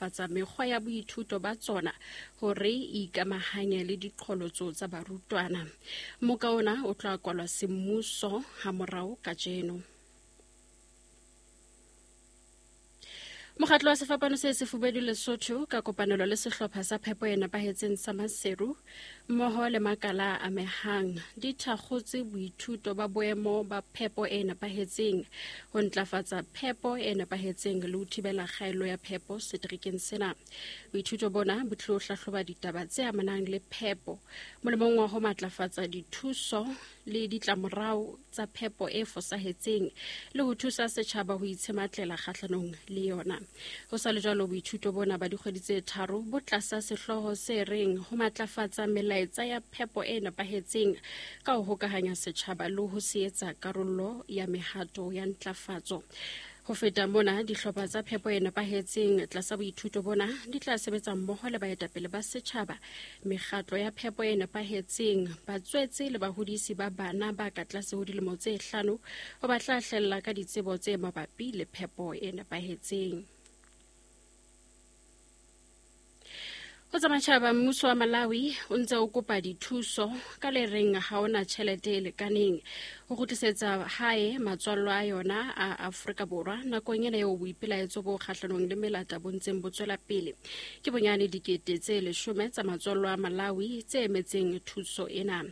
ntlafatsa mekgwa ya boithuto ba tsona hore e ikamahanye le diqholotso tsa barutwana. Mmoka ona o tla kwalwa semmuso hamorao kajeno. Mokgatlo wa Sefapano se Sefubedu Lesotho ka kopanelo le sehlopha sa phepo e nepahetseng sa Maseru mmoho le makala a amehang di thakgotse boithuto ba boemo ba phepo e nepahetseng ho ntlafatsa phepo e nepahetseng le ho thibela kgaello ya phepo seterekeng sena. Boithuto bona bo tlilo hlahloba ditaba tse amanang le phepo molemong wa ho matlafatsa dithuso le ditlamorao tsa phepo e fosahetseng le ho thusa setjhaba ho itshematlela kgahlanong le yona. Ho sa le jwalo, boithuto bona ba dikgwedi tse tharo bo tlasa sehlooho se reng ho matlafatsa melaetsa ya phepo e nepahetseng ka ho hokahanya setjhaba le ho se etsa karolo ya mehato ya ntlafatso. Ho feta mona, dihlopha tsa phepo e nepahetseng tlasa boithuto bona di tla sebetsa mmoho le baetapele ba setjhaba, mekgatlo ya phepo e nepahetseng, batswetse le bahodisi ba bana ba ka tlase ho dilemo tse hlano ho ba tla hlella ka ditsebo tse mabapi le phepo e nepahetseng. Ho tsa matjhaba, mmuso wa Malawi o ntse o kopa dithuso ka le reng ha ona tjhelete e lekaneng ho kgutlisetsa hae matswallo a yona a Afrika Borwa nakong ena eo boipelaetso bo kgahlanong le melata bo ntseng bo tswela pele. Ke bonyane 10,000 tsa matswallo a Malawi tse emetseng thuso ena.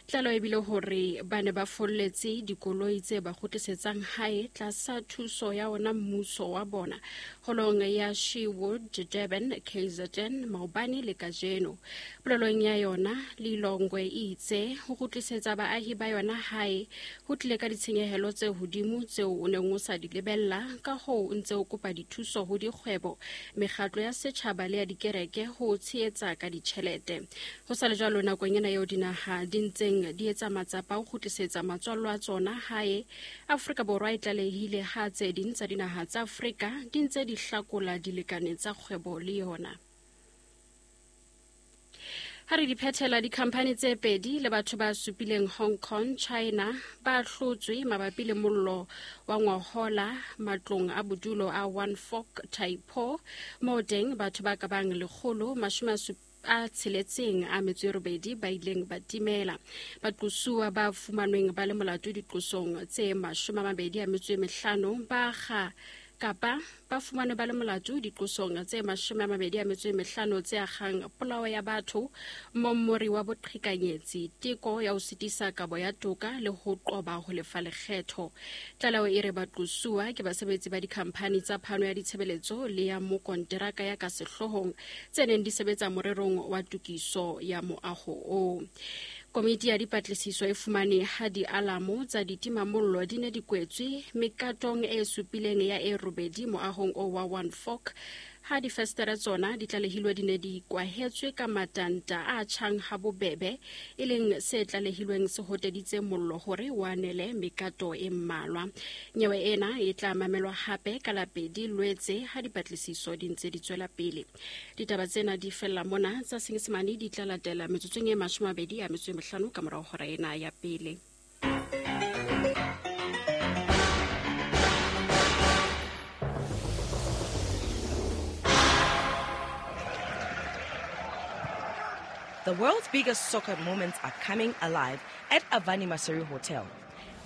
Tlaleho e bile hore ba ne ba folletse dikoloi tse ba kgutlisetsang hae tlasa thuso ya ona mmuso wa bona holong ya Shewood Durban KZN maobane le kajeno. Polelong ya yona, Lilongwe e itse ho kgutlisetsa baahi ba yona hae ho tlile ka ditshenyehelo tse hodimo tseo o neng o sa di lebella, ka hoo o ntse o kopa dithuso ho dikgwebo, mekgatlo ya setjhaba le ya dikereke ho tshehetsa ka ditjhelete. Ho sa le jwalo, nakong ena eo dinaha di ntseng di etsa matsapa ho kgutlisetsa matswallo a tsona hae, Afrika Borwa e tlalehile ha tse ding tsa dinaha tsa Afrika di ntse di hlakola dilekane tsa kgwebo le yona. Ha re di phethela, dikhamphani tse pedi le batho ba supileng Hong Kong, China ba hlotswe mabapi le mollo wa ngwahola matlong a bodulo a One Fork Taipo, moo teng batho ba ka bang 168 ba ileng ba timela. Baqosuwa ba fumanweng ba le molato diqosong tse 25 ba kga kapa ba fumanwe ba le molato diqosong tse 25 tse akgang polao ya batho, mommori wa boqhekanyetsi, teko ya ho sitisa kabo ya toka le ho qoba ho lefa lekgetho. Tlaleho e re baqosuwa ke basebetsi ba dikhamphani tsa phano ya ditshebeletso le ya mokonteraka ya ka sehloohong tse neng di sebetsa morerong wa tokiso ya moaho oo. Komiti ya dipatlisiso e fumane ha dialamo tsa ditimamollo di ne di kwetswe mekatong e supileng ya e robedi moahong o wa One Fork, ha difestere tsona di tlalehilwe di ne di kwahetswe ka matanta a tjhang ha bobebe, e leng se tlalehilweng se hoteditse mollo hore o anele mekato e mmalwa. Nyewe ena e tla mamelwa hape ka la 2 Lwetse ha dipatlisiso di ntse di tswela pele. Ditaba tsena di fella mona, tsa Senyesemane di tla latela metsotsong e 25 ka morao hora ena ya pele. The world's biggest soccer moments are coming alive at Avani Maseru Hotel.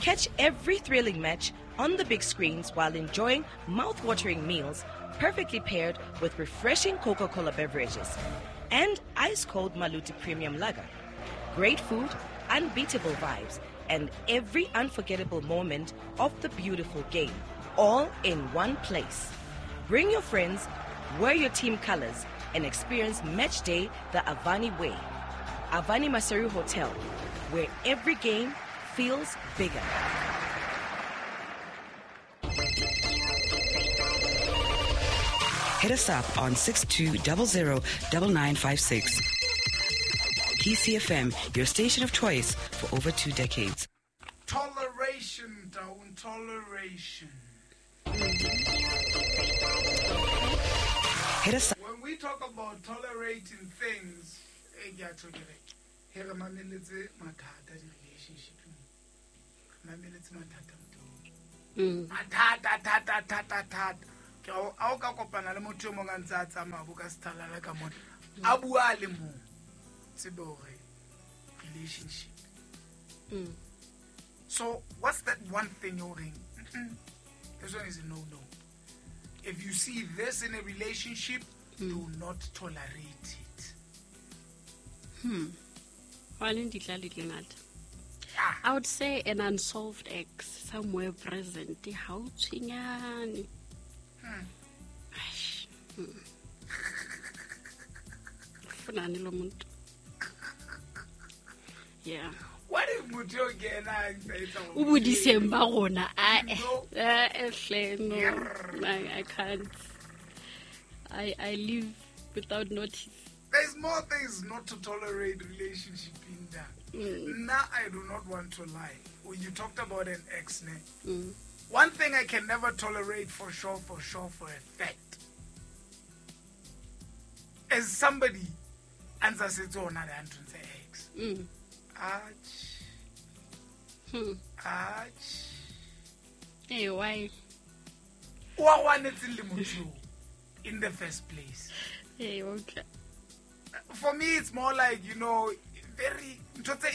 Catch every thrilling match on the big screens while enjoying mouth-watering meals perfectly paired with refreshing Coca-Cola beverages and ice-cold Maluti Premium Lager. Great food, unbeatable vibes, and every unforgettable moment of the beautiful game, all in one place. Bring your friends, wear your team colors, and experience match day the Avani way. Avani Maseru Hotel, where every game feels bigger. Hit us up on 6200 9956. PCFM, your station of choice for over 2 decades. Toleration, down toleration. Hit us up. When we talk about tolerating things, relationship. Mathata, thata, thata, thata. Ke a o ka kopana le motho e mong a ntse a tsamaya bo ka sethalala ka mona. A bua le mong. Tsebe hore relationship. So what's that one thing you're ring? This one is a no-no. If you see this in a relationship, do not tolerate it. I would say an unsolved ex somewhere present. How tshwenyane. Funani lo muntu. Yeah. What if motho o kena a ntse a etsa hore O bodiseng ba rona. No. No. I can't. I live without notice. There's more things not to tolerate relationship in that. Now I do not want to lie. When you talked about an ex, ne? One thing I can never tolerate for sure, for a fact, is somebody answers it on the ex. Ach. Ach. Hey, why? In the first place. Hey, okay. For me, it's more like, you know, very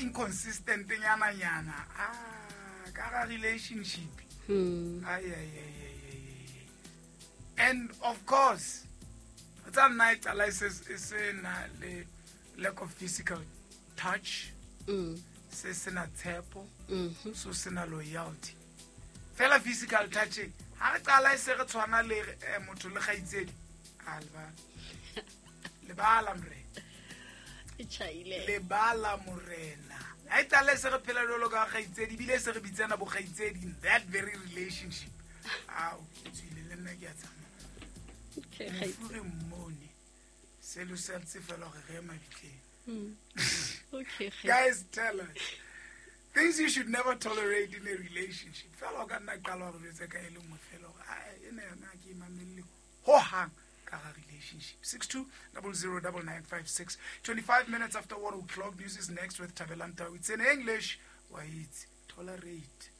inconsistent thing. Yana. Ah, kara relationship. Ay, ay, ay, ay, ay. And of course, that night, I says it's a lack of physical touch. Se sena tshepo, so sena loyalty. Fela physical touch. Ha re qala e se re tshwana le motho le kgaitsedi. A lebala. Lebala morena. Lebala morena. Ha e qala e se re phela jwalo ka kgaitsedi, ebile se re bitsana bo kgaitsedi in that very relationship. Ao, ke tswile le nna ke a tsamaya. Okay, mofu re mmone. Selo se ntse fela hore re ye mabitleng. Okay. Guys, tell us things you should never tolerate in a relationship. Fela o ka nna qala hore jwetse ka e le nngwe fela hore ai ena yona ke mamelle ho hang ka ga relationship. 62009956. 25 minutes after 1 o'clock. News is next with Thabelang Tau. It's in English. Why it's tolerate.